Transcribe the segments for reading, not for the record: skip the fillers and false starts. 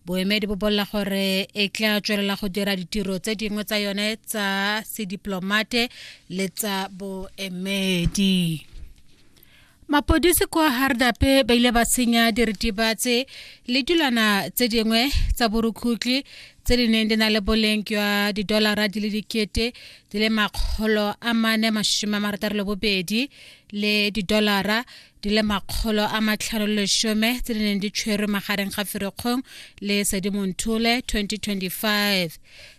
Boemedi bo bolela gore e tla tswelela go dira ditiro tse dingwe tsa yone tsa sediplomate le tsa boemedi. Mapodisi kwa Hardape ba ile ba senya diritibatse le dilwana tse dingwe tsa borukhutlhi tse di neng di na le boleng jwa didolara di le 4 462 le didolara di le 510 tse di neng di tshwerwe magareng ga Ferikgong le Sedimonthole 2025.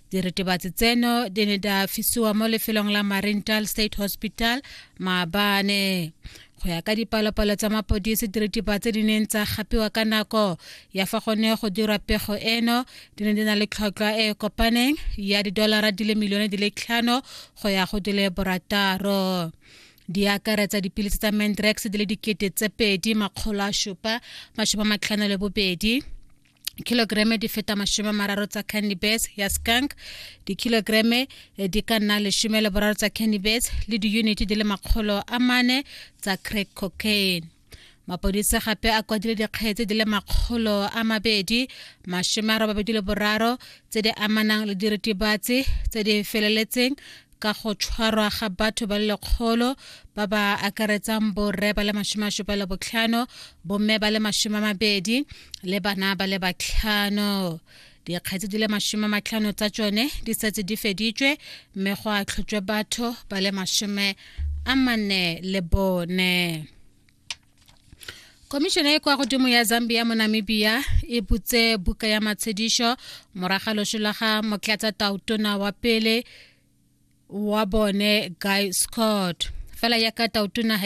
Diritibatsi tseno di ne di fisiwa mo lefelong la Mariental State Hospital maabane. Go ya ka dipalopalo tsa mapodisi, diritibatsi di neng tsa gapiwa ka nako ya fa go ne go dirwa pego eno di ne di na le tlhotlhwa e e kopaneng ya didolara di le milione di le 5 go ya go di le 6. Di akaretsa dipilisi tsa Mandrax di le 2752 kilograme di feta 30 tsa cannabis ya skunk, dikilograme di ka nna 13 tsa cannabis le diyuniti di le 400 tsa crack cocaine. Mapodisi gape a kwadile dikgetse di le 283 tse di amanang le diritibatsi tse di feleletseng ka go tshwarwa ga batho ba le 100 ba ba akaretsang borre ba le 75, bomme ba le 20 le bana ba le 5. Dikgetse di le 50 tsa tsone di setse di feditswe mme go atlhotswe batho ba le 44. Komišene e kwa godimo ya Zambia mo Namibia e butse buka ya matshedišo moraga loso la ga motlatsa tautona wa pele wa bone Guy Scott. Fela yaka tautona